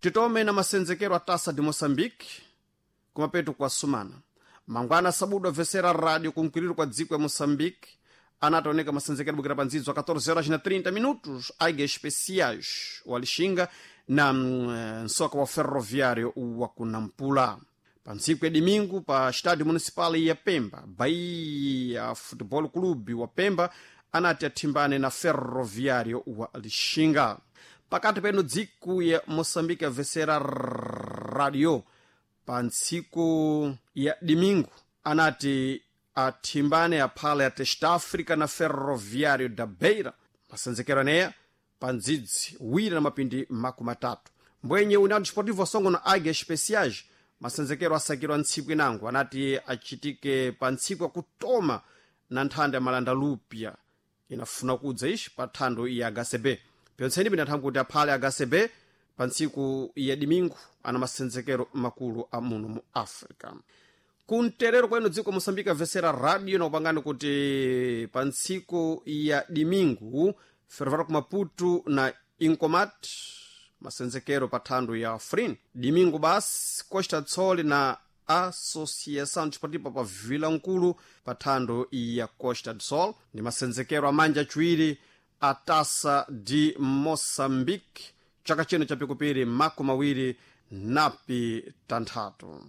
Titome na masenzekero a Taça de Moçambique kumapeto kwa sumana. Mangwana sabudu avesera rádio kunkwiriro kwa dziko ya Moçambique anataoneka masenzekero bukira pandzidzo a 14 horas na 30 minutos, Águia Especiais wa Lixinga na nsoka wa Ferroviário wa Kunampula. Pa ntsiku ya domingo, pa estádio municipal ya Pemba, Bahia Futebol Clube wa Pemba anati athimbane na Ferroviário wa Lixinga. Pakati peno dziko ya Moçambique avesera radio pa ntsiku ya domingo anati athimbane aphale a Testa África na Ferroviário da Beira, masenzekero aneya pa ndzidzi wira na mapindi 30. Mbwenye União Desportivo Songo na Águia Especiais, masenzekero asakirwa ntsiku inango anati achitike pa ntsiku yakutoma na nthanda ya Malanda Lupia inafuna kudza ixi pa thando ya HCB. Pyontseni pinathamwa kuti aphale HCB pa ntsiku ya domingo ana masenzekero makulu a muno mu Africa. Kumterero kwenu dziko Moçambique avesera radio na kupangani kuti pa ntsiku ya domingo, Ferroviário ku Maputo na Incomat, masenzekero pa thando ya Frin. Domingo basi, Costa do Sol na Associação Desportiva pa Vila Nkulu pa thando ya Costa do Sol, ndi masenzekero amanja achiwiri a Taça de Moçambique chaka chino cha pikupiri 25.